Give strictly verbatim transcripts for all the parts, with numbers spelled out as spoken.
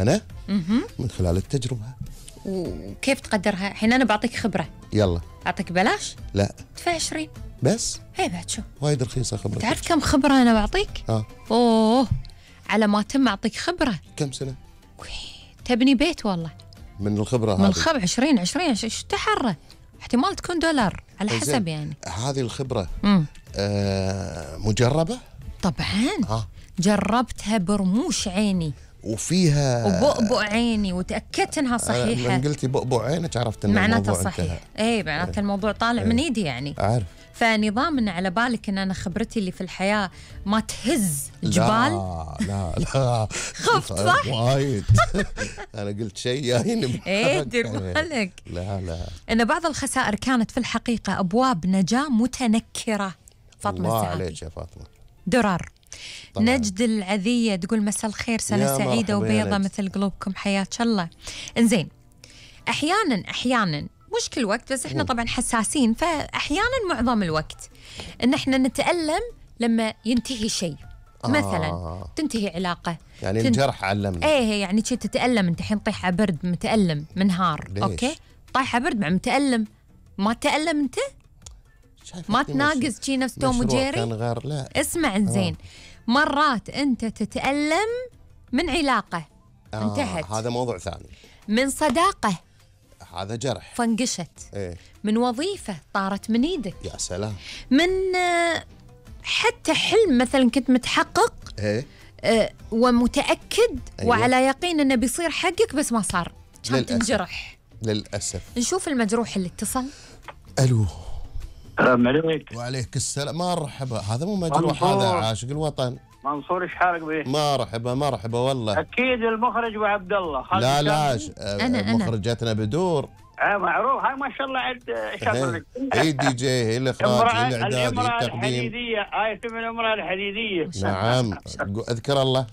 أنا؟ اها من خلال التجربة. وكيف تقدرها؟ الحين أنا بعطيك خبرة. يلا. أعطيك بلاش؟ لا. ادفع عشرين بس؟ هي بعد شو؟ وايد رخيصة خبرة. تعرف كم خبرة أنا بعطيك؟ اه أوه، على ما تم أعطيك خبرة. كم سنة؟ تبني بيت والله من الخبرة هذه. من الخبرة عشرين عشرين ايش تحرى؟ احتمال تكون دولار على حسب يعني. هذه الخبرة امم آه مجربة؟ طبعا. اه جربتها برموش عيني وفيها وبؤبؤ عيني وتأكدت انها صحيحة. من قلتي بؤبؤ عينك عرفت ان معناته الموضوع صحيح. انتهى. اي معناته أيه. الموضوع طالع أيه. من ايدي يعني. أعرف. فنظام ان على بالك ان انا خبرتي اللي في الحياة ما تهز جبال. لا لا لا خفت صح؟ وايد. انا قلت شيء جايين. ايه دير بالك. لا لا ان بعض الخسائر كانت في الحقيقة ابواب نجاة متنكرة. فاطمة الله السعادي. عليك يا فاطمة. درر. طبعاً. نجد العذية تقول مساء الخير، سنة يا سعيدة مرحبا وبيضة يا نجد. مثل قلوبكم، حياك الله. انزين، احيانا احيانا مش كل وقت بس احنا طبعا حساسين، فاحيانا معظم الوقت ان احنا نتألم لما ينتهي شيء. آه. مثلا تنتهي علاقة، يعني تن- الجرح علمني. ايه يعني شي تتألم انت الحين طيحة برد متألم منهار. ليش؟ اوكي طيحة برد مع متألم، ما تألم انت؟ شايفك ما في تناقز مش- شي نفس توم مشروع وجيري؟ كان غير. لا اسمع زين، مرات انت تتألم من علاقة آه انتهت، هذا موضوع ثاني. من صداقة هذا جرح. فنقشت، ايه من وظيفة طارت من ايدك، يا سلام. من آه، حتى حلم مثلا كنت متحقق ايه آه، ومتأكد أيوة. وعلى يقين انه بيصير حقك بس ما صار، كان للأسف. تنجرح. للأسف. نشوف المجروح اللي اتصل. الو. السلام عليك. وعليك السلام. مرحبا. هذا مو مجروح، منصور. هذا عاشق الوطن. منصور ايش حالك به؟ مرحبا مرحبا والله. اكيد المخرج وعبد الله خالد لا لا الشامي. ش- آه، أنا- أنا. مخرجتنا بدور. آه معروف، هاي ما شاء الله عد ايش اقول لك؟ هي الدي جي، هي الاخراج، هي امرأة الاعداد، هي الامرأة التقديم. الحديدية، هاي اسم الامرأة الحديدية. نعم. اذكر الله.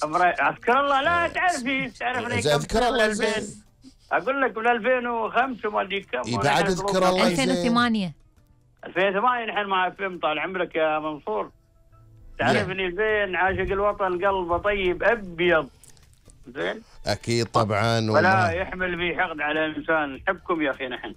امرأة اذكر الله. لا تعرفي تعرفني كم اذكر سنة الله من زين. ألفين. اقول لك من ألفين وخمسة وما ادري كم. إي بعد اذكر الله. ألفين وثمانية. ألفين وثمانية نحن مع فيلم طال عمرك يا منصور. تعرفني زين، عاشق الوطن قلبه طيب ابيض. زين. اكيد طبعا. ولا وما- يحمل في حقد على انسان. نحبكم يا اخي، نحن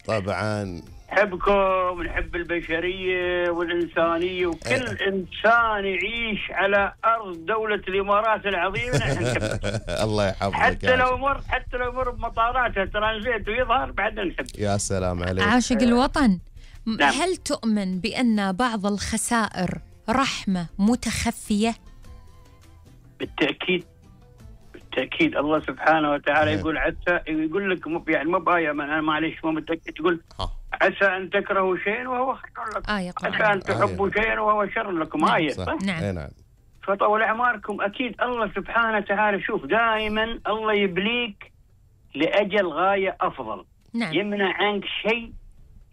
طبعا. نحبكم، نحب البشريه والانسانيه، وكل أه. انسان يعيش على ارض دوله الامارات العظيمه نحن نحبه. الله يحفظك حتى يا لو عاشق. مر حتى لو مر بمطاراتها ترانزيت ويظهر بعد نحب. يا سلام عليك. عاشق الوطن. م- نعم. هل تؤمن بأن بعض الخسائر رحمة متخفية؟ بالتاكيد بالتاكيد. الله سبحانه وتعالى نعم. يقول عسى، يقول لك مو يعني مو بايه، انا معليش مو متاكد، يقول ها. عسى ان تكرهوا شيئا وهو خير لكم، آية عسى قرآن. ان تحبوا شيئا وهو شر لكم. نعم. آية صح. صح؟ نعم. إيه نعم. فطول اعماركم. اكيد الله سبحانه وتعالى شوف دائما الله يبليك لاجل غايه افضل. نعم يمنع عنك شيء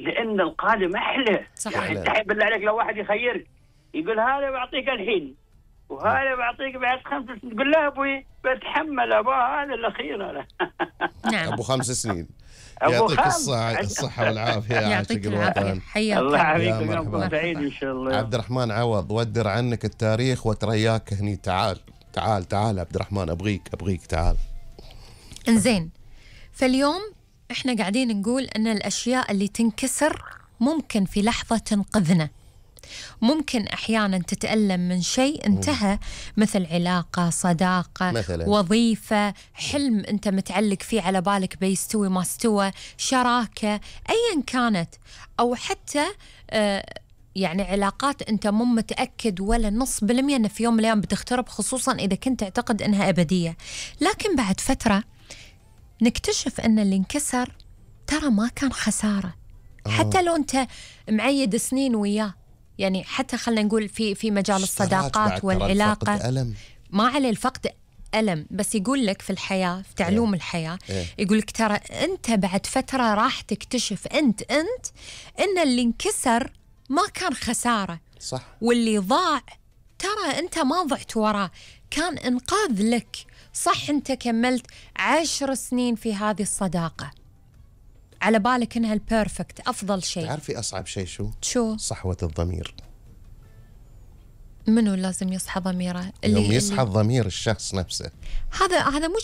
لان القادم احلى. صح. يعني انت بالله عليك لو واحد يخيرك يقول هذا بعطيك الحين وهذا بعطيك بعد خمس سنين، تقول لا ابوي بتحمل ابا هذا الاخير انا. نعم. ابو خمس سنين. أبو يعطيك خمس. الصحة الصحة والعافية يا عاشق يعطيك العافية، الوطن. حياك الله الله. يعافيك يا ويومكم مرحبا. سعيد ان شاء الله. عبد الرحمن عوض، ودر عنك التاريخ وترياك هني. تعال تعال تعال عبد الرحمن، ابغيك ابغيك تعال. انزين، فاليوم احنا قاعدين نقول ان الاشياء اللي تنكسر ممكن في لحظة تنقذنا، ممكن احيانا تتألم من شيء انتهى، مثل علاقة، صداقة، مثلاً. وظيفة، حلم انت متعلق فيه على بالك بيستوي ما استوى، شراكة، ايا كانت، او حتى آه يعني علاقات انت مو متأكد ولا نص بالمية ان في يوم من الايام بتخترب، خصوصا اذا كنت تعتقد انها ابدية، لكن بعد فترة نكتشف ان اللي انكسر ترى ما كان خسارة. حتى لو انت معيد سنين وياه، يعني حتى خلينا نقول في في مجال اشتراك بعد الصداقات ترى والعلاقة، الفقد ألم. ما عليه الفقد ألم، بس يقول لك في الحياة، في تعلوم الحياة، إيه. يقول لك ترى أنت بعد فترة راح تكتشف أنت أنت إن اللي انكسر ما كان خسارة، صح. واللي ضاع ترى أنت ما ضعت وراه، كان إنقاذ لك. صح أنت كملت عشر سنين في هذه الصداقة على بالك إنها البيرفكت أفضل شيء. تعرفي أصعب شيء شو؟ شو؟ صحوة الضمير. منو لازم يصحى ضميره؟ يوم يصحى ضمير الشخص نفسه. هذا هذا مش